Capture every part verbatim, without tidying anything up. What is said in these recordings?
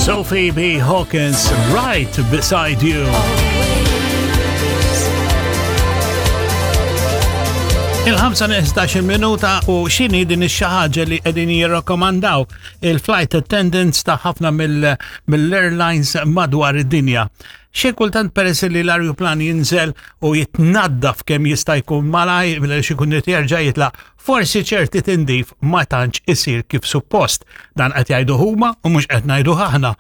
Sophie B. Hawkins, Right Beside You. Il-ħamsa nieqes minuta u x'inhi din ix ħaġa li qegħdin jirrakkomandaw il-flight attendants ta' ħafna mill-airlines madwar id-dinja. Xi kultant, peress li l-arjuplan jinżel u jitnaddaf kemm jista' jkun malaj biex ikun jerġa' jitlaq, forsi ċerti tindif ma tantx isir kif suppost. Dan qed jgħidu huma u mhux qed ngħidu aħna.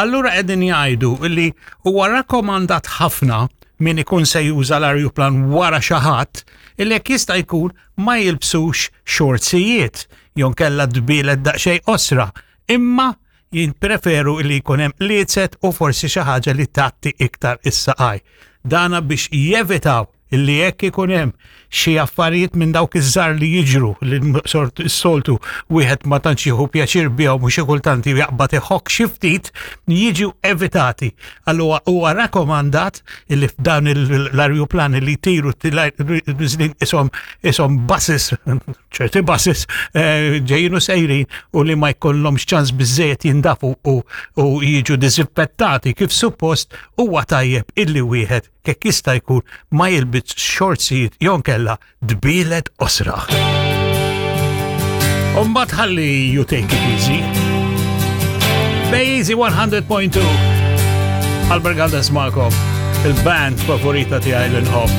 Allura qegħdin jgħidu li huwa rakkomandat ħafna min ikun se juża l-arjuplan wara xi ħadd illi jekk jista' jkun ma jilbsux xortsijiet jew kella dbielet daqsxejn qosra, imma jippreferu li jkun hemm liezet u forsi xi ħaġa li tgħatti iktar is-saqaj. Dana biex jevitaw illi jekk ikun hemm xi affarijiet minn dawk iż-żar li jiġru li sort is-soltu wieħed ma tantx jieħu pjaċir bihom u xi kultant jaqbad iħokk xi ftit, jiġu evitati. Allura huwa rakkomandat illi f'dan l-arjuplani li jtiru isom isom buses, ċerti buses eh, ġejjin u sejrin u li ma jkollhomx ċans biżejjed jindafu u, u jiġu disinfettati kif suppost, huwa tajjeb illi wieħed kek jista' jkun ma jilbis xortsijiet jew kella dbielet qosra. Umbagħad ħalli you take it easy. Bej Easy one hundred point two. Albert Galdes magħkom, il-band favorita tiegħi li nħobb.